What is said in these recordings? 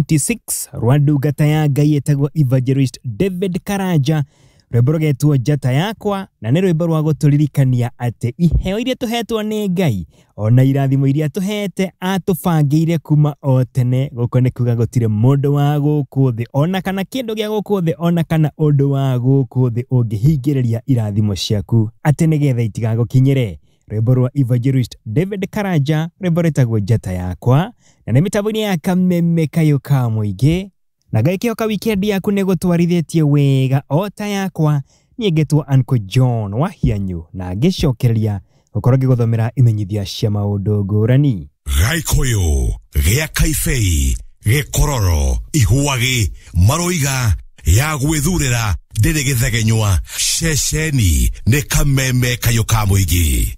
26 rwa ndungata ya Ngai ĩtagwo Evangelist David Karanja, rwĩmbo rũgetwo Njata Yakwa, na nĩ rwĩmbo rwa gũtũririkania atĩ iheo iria tũhetwo nĩ Ngai ona irathimo iria tũhete atũbangĩire kuma o tene. Gũkũ nĩ kuga gũtirĩ mũndũ wa gũkũ thĩ ona kana kĩndũ gĩa gũkũ thĩ ona kana ũndũ wa gũkũ thĩ ũngĩhingĩrĩria irathimo ciaku atĩ nĩgetha itigagũkinyĩre. Rwĩmbo rwa Evangelist David Karanja, rwĩmbo rwĩtagwo Njata Yakwa, na nĩ mĩtambo-inĩ ya Kameme Kayũ ka Mũingĩ. Na ngakĩhoka weekend yaku nĩ gũtwarithĩtie wega o ta yakwa. Niĩ ngetwo Uncle John wa Hianyu na ngĩcokereria gũkorwo ngĩgũthomera imenyithia cia maũndũ ngũrani. Gaikũyũ gĩa Kaibei gĩkororo ihuagi maroiga ya gwĩthurĩra ndĩrĩ gĩthegenywa ceceni nĩ Kameme Kayũ ka Mũingĩ.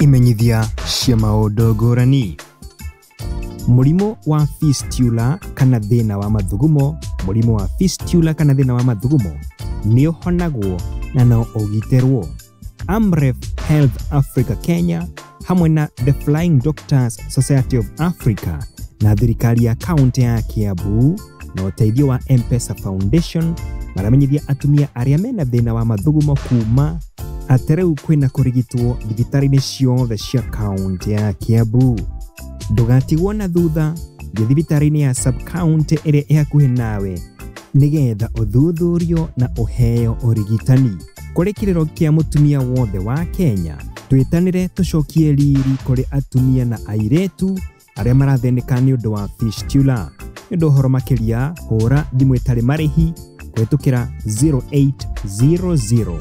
Imenyithia cia maũndũ ngũrani. Mũrimũ wa fistula kana thĩna wa mathugumo, mũrimũ wa fistula kana thĩna wa mathugumo nĩ ũhonagwo na no ũgitĩrwo. Amref Health Africa Kenya hamwe na The Flying Doctors Society of Africa na thirikari ya kaunti ya Kiambu na ũteithio wa M-Pesa Foundation maramenyithia atumia arĩa mena thĩna wa mathugumo kuma atĩ rĩu kwĩna kũrigitwo thibitarĩ-inĩ ciothe cia kaunti ya Kiambu. Ndũgatigwo na thutha, thiĩ thibitarĩ-inĩ ya sub-county ĩrĩa ĩ hakuhĩ nawe nĩgetha ũthuthurio na ũheo ũrigitani. Kũrĩ kĩrĩro kĩa mũtumia wothe wa Kenya, twĩtanĩre tũcokie riri kũrĩ atumia na airĩtu arĩa marathĩnĩka nĩ ũndũ wa fistula. Nĩ ũndũ ũhoro makĩria, hũra thimũ ĩtarĩ marĩhi kũhĩtũkĩra 0800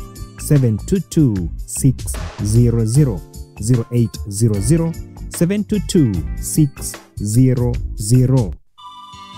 722 600, 0800 722 600.